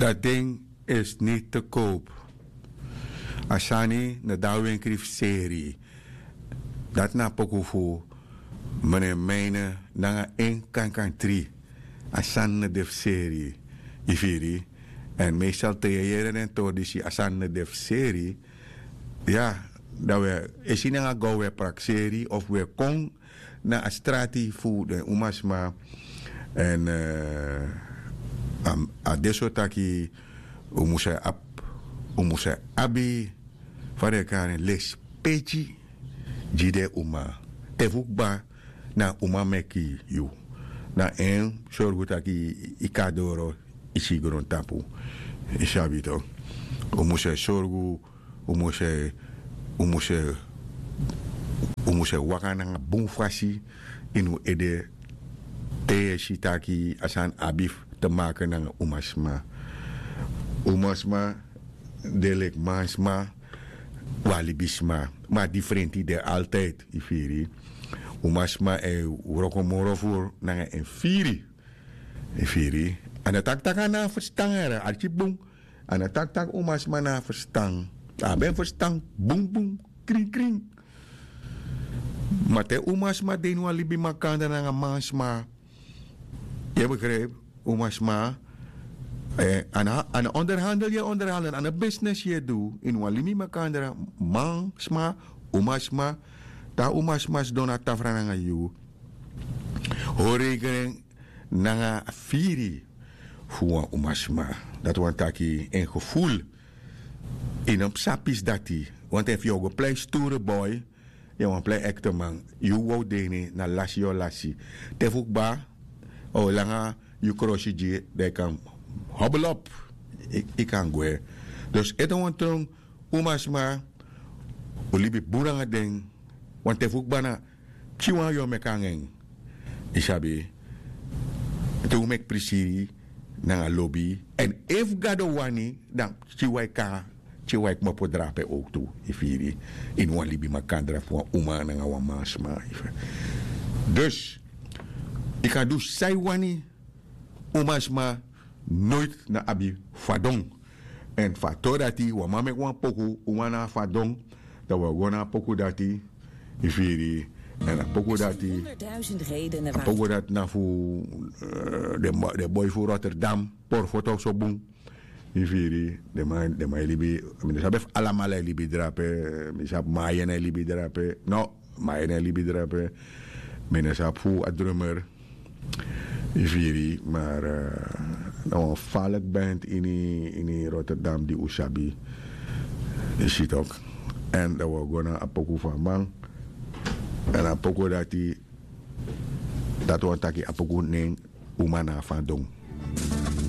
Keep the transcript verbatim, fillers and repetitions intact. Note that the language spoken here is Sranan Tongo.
Dat ding is niet te koop. A sani no de na wenkri fu seri. Dati na a poku fu mene mine nanga en kankantri. A sani no de fu seri. Yu firi? Èn meestal te yu e yere den tori disi, a sani no de fu seri. Ya, dan wi e si nanga go wi e prakseri of wi e kon na a strati fu den umasma. Èn a de so taki un mus e abi, un mus e abi fa den e kari en, lespeki gi den uma. Te fu kba na uma meki yu, na en sorgu taki yu kan doro yu si grontapu. Yu sabi to, un mus e sorgu, un mus e un mus e un mus e waka nanga bun fasi ini un ede. Te yu e si taki a sani abi te make nanga umasma. Umasma de leki mansma. Wan libisma, ma a difrenti de altid. Yu firi? Umasma e wroko moro furu nanga en firi. Yu firi? A no taki tak' a no abi ferstan, arki bun. A no taki tak' umasma no abi ferstan. A abi en ferstan bunbun, krinkrin. Ma te umasma de ini wan libi makandra nanga mansma, yu e begripi? Umasma, a no onderhandel yu e onderhandel, a no bisnis yu e du ini wan libi makandra. Mansma, umasma, te a umasma sidon na tafra nanga yu, hori rekening nanga a firi fu wan umasma. Dati wani taki en geful. Yu no mus sabi pisi dati. Want efu yu o go plei sture boy, yu wani plei ekteman, yu wow deni na lasi yu o lasi. Te fu kba, a o langa yu krosi gi, dan yu kan hobelop. Yu kan gwe. Dus ete wan tron umasma, un libi bun nanga den. Want te fu kba na pikin wan yu o meki nanga en. Yu sabi? Te un meki prisiri nanga lobi. Èn efu gado wani, dan pikin wan e kon, pikin wan e kmopo drape owtu. Yu firi? Ini wan libi makandra fu wan uma nanga wan mansma. Dus yu kan du san yu wani. Umasma noiti no abi fadon. Èn fu a tori dati wan man meki wan poku, uma no abi fadon. Dan wi o go na a poku dati. Yu firi? Èn a poku dati, a poku dati na fu den boi fu Rotterdam. Porfoto so bun. Yu firi? Den man e libi. Mi no sabi efu alamala e libi drape. Mi sabi Mayen e libi drape. No, Mayen e libi drape. Mi no sabi fu a drummer. Yu firi? Maar na wan falek band ini Rotterdam di un sabi. Yu si tok. Èn dan wi o go na a poku fu a man. Èn a poku dati, dati wani taki a poku nen uma no abi fadon.